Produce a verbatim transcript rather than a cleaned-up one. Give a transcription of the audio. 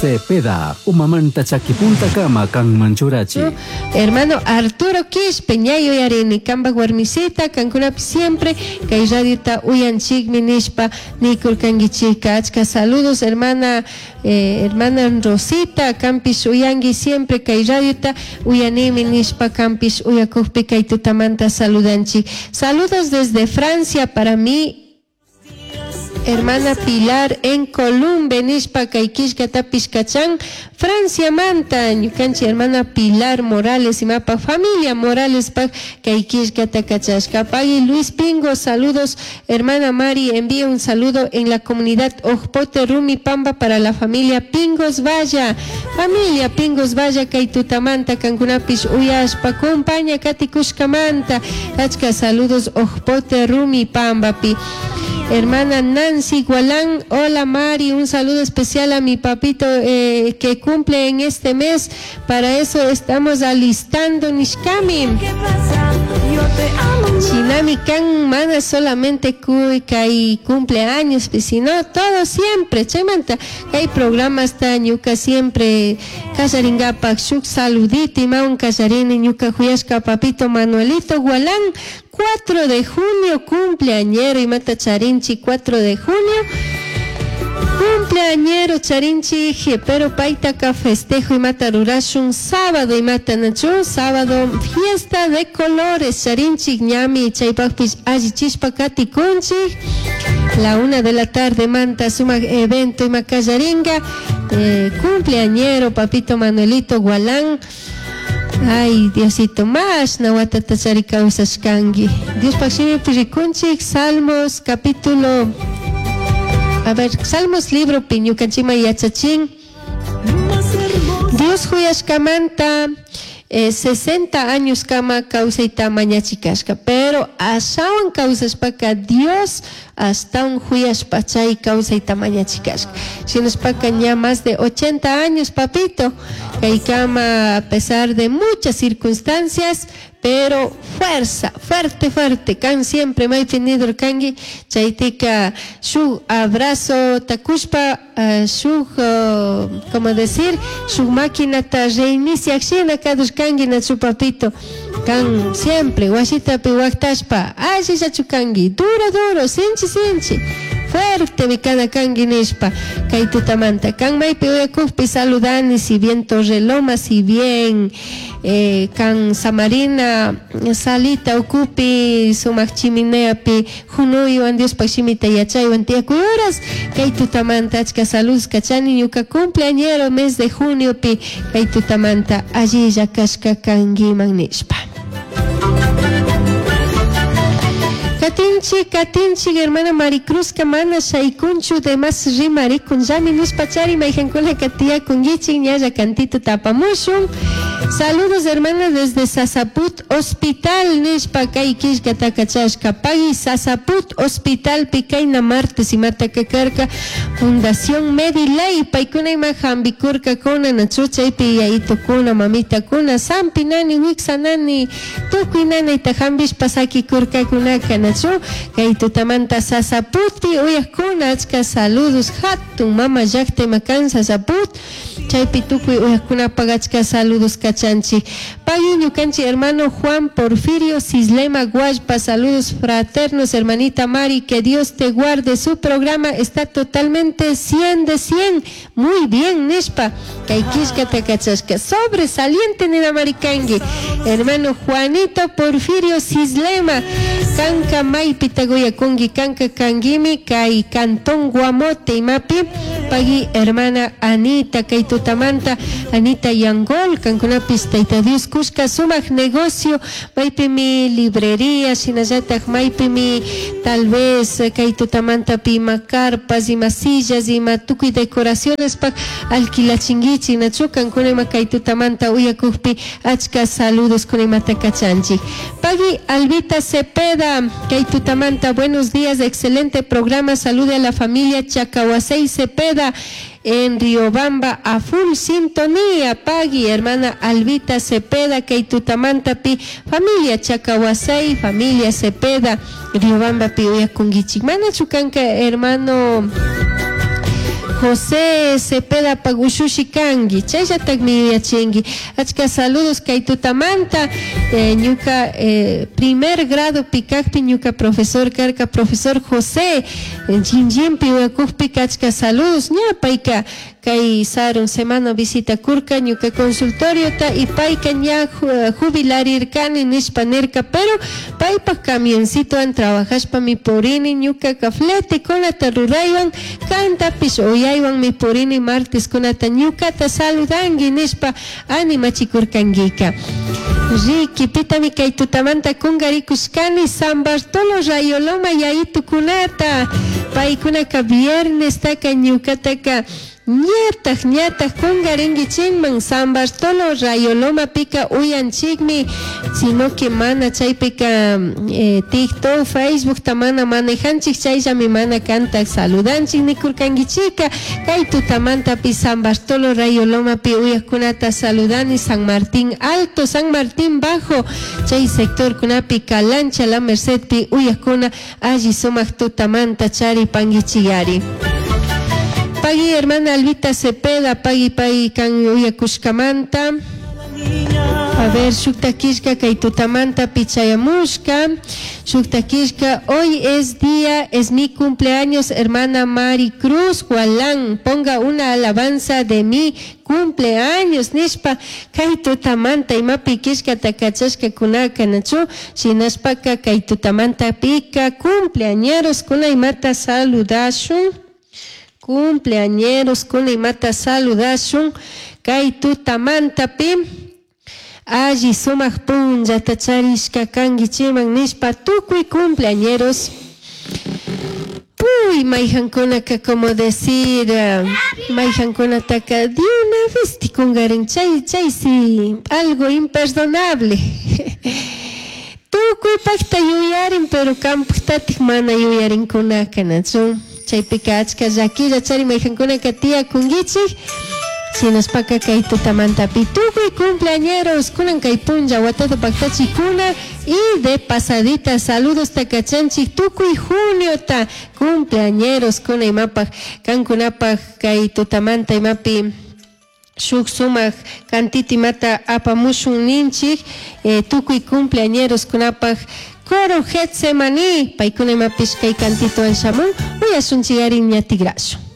Cepeda, umamanta chakipunta kama kanman churachi. Hermano Arturo Quispe, ña yuyarini, kambaj warmisita, kankunapi siempre kay radiota uyanchikmi nishpa nikurkankichika. Achka saludos, hermana, eh, hermana Rosita, kampish uyanki siempre kay radiota uyanimi nishpa kampish uyakukpi kay tutamanta saludanchik. Saludos desde Francia para mí, hermana Pilar en Columbe nishpa kay killkatapish kachan Francia manta ñukanchik hermana Pilar Morales imapa familia Morales pa kay killkata kachashka. Pagui Luis Pingo, saludos, hermana Mari, envía un saludo en la comunidad Ojpote Rumi Pamba para la familia Pingos Valla. Familia Pingos Valla kay tutamanta kankunapish uyashpa compaña katikushkamanta. Achka saludos Ojpote Rumi Pambapi. Hermana Nancy Gualán, hola Mari, un saludo especial a mi papito eh, que cumple en este mes, para eso estamos alistando nishkami. Shinami kan mana solamente kuy kay cumpleaños, sino todo siempre. Chaymanta kay programas ta ñuka siempre kallaringapak shuk saludito imawan kallarini ñuka juyashka papito Manuelito Gualán, cuatro de junio cumpleañero imata charinchi cuatro de junio. Cumpleañero charinchi, pero paitaka festejo imata rurashun sábado imata nachu, sábado fiesta de colores charinchi ñami chaypakpish allichishpa katikunchik. La una de la tarde manta suma evento imakallaringa, eh, cumpleañero papito Manuelito Gualán. Ay, Diosito, más nawatata chari kawsashkanki. Dios pakshimipi rikunchik, Salmos capítulo, a ver, Salmos libro pi ñukanchikman yachachin. Dios huyashkamanta eh, sesenta años kama kawsayta mañachikashka, pero ashawan kawsashpaka Dios hasta un huyashpa chay kawsayta mañachikashka. Shinashpaka ña más de ochenta años, papito, kaykama a pesar de muchas circunstancias, pero fuerza, fuerte, fuerte, kan siempre maypi nidor kanki, chaytika shuk abrazo takushpa, uh, shuk, uh, como decir, shuk maquinata reinicia shina kadush kanki nachu papito, kan siempre wasitapi waktashpa, allillachu kanki, duro, duro, sinchi, sinchi, fuerte mi kana kanki nishpa, kay tutamanta, kan maypi uyakukpi saludani, si bien Torreloma, si bien eh, kan Samarina, salita ukupi, sumak chimineapi, junuywan Diospaj shimita yachaywan tiyakuyuras, kay tutamanta achka salud kachani ñuka cumpleañero mes de junio pi, kay tutamanta allilla kashka kankiman nishpa. Katinchi, katinchi, hermana Maricruz kamana shaykunchu de mas rimarikun llami nishpa chari mayjankuna katiyakun ñalla cantito tapamushun. Saludos, hermana, desde Sasaput Hospital, nishpa kay killkata kachashka. Pagui Sasaput Hospital, pikayna martes imata kakarka, Fundación Medilay, paykuna ima hambikurka kuna, nachu chaypi yayitukuna, mamitakuna, sampi nani, wiksa nani, tukuy nanayta hambishpa sakikurkakunaka, nachu kay tutamanta Sasaputpi uyakuna, achka saludos, hatun mama llaqta ima kan Sasaput, chaypi tukuy uyakunapaq achka saludos kachanchik. Pagui ñukanchik hermano Juan Porfirio Cislema Guashpa, saludos fraternos, hermanita Mari, que Dios te guarde, su programa está totalmente cien de cien, muy bien, nishpa, kay killkata kachashka, sobresaliente nina marikanki, hermano Juanito Porfirio Cislema, kanka maypi taguyakunki, kanka kankimi, kay cantón Guamote imapi, pagui hermana Anita, kay tutamanta, Anita Yangol, kankunapis tayta Dios kushka sumak negocio, maypimi librería, shinallatak maypimi tal vez kay tutamanta pima carpas, ima sillas, ima tukuy decoraciones pak alquilachinkichik, nachu kankuna ima kay tutamanta uyakukpi achka saludos kuna imata kachanchik. Pagui Albita Cepeda, kay tutamanta, buenos días, excelente programa, salude a la familia Chacahuasey Cepeda en Riobamba, a full sintonía. Pagui, hermana Albita Cepeda, kay tutamanta pi, familia Chacahuasey, familia Cepeda, Riobamba pi uyakunkichik. Mana chukanka, hermano José Cepeda pag ushushi kanki chayllatakmi yuyachinki. Achka saludos kay tutamanta eh, ñuka eh, primer grado pikakpi ñuka profesor karka profesor José Chinchimpi uyakukpika achka saludos ña payka kay sarun semana visita kurka ñuka consultoriota y payka ña jubilarirkani nishpa nirka pero paypak camioncitowan trabajashpami purini ñukaka fletekunata ruraywan kantapish uyaywanmi purini marteskunata ñukata saludanki nishpa animachikurkankika. Riki pitami kay tutamanta kungarikushkani San Bartolo Rayoloma yayitukunata paykunaka viernestaka ñukataka ñataj ñataj kungarinkichikman San Bartolo Rayolomapika uyanchikmi sino que mana chaypika eh, TikTok, Facebookta mana manejanchik chayllami mana kantak saludanchik nikurkankichika kay tutamantapi San Bartolo Rayolomapi uyakkunata saludani San Martín Alto, San Martín Bajo chay sectorkunapi Calancha La Mercedpi uyakkuna alli sumak tutamanta charipankichikari. Pagui hermana Albita Cepeda, pagui pagui kan uyakushkamanta. A ver, shukta kay tutamanta pichayamushka. Shukta hoy es día, es mi cumpleaños, hermana Mari Cruz Gualán. Ponga una alabanza de mi cumpleaños, nishpa kay tutamanta imapi kishkata kachashka kunaka nachu, shinashpaka kay tutamanta pika cumpleañeros kuna imata saludashun. Cumpleañeros kuna imata saludashun kay tutamanta pi alli sumak punllata charishka kankichiman nishpa tukuy cumpleañeros. Uy, mayhankunaka como decir, mayhankunataka de una vez tikungarin chay chay sí, algo imperdonable. Tukuy pakta yuyarin pero kampaktatik mana yuyarinkunaka nachu. Chaypika achka llakilla chari mayhankunaka tiyakunkichik. Shinashpaka kay tutamantapi tukuy cumpleañeros kunan kay punlla watata paktachikuna y de pasadita saludos takachanchik tukuy juniota cumpleañeros kuna imapaj kankunapaj kay tutamanta imapi shuk sumak kantita imata apamushun ninchik eh, tukuy cumpleañeros kunapaj coro Getsemaní paykuna imapish kay kantituwan shamun uyashunchik ari ña tigrashun.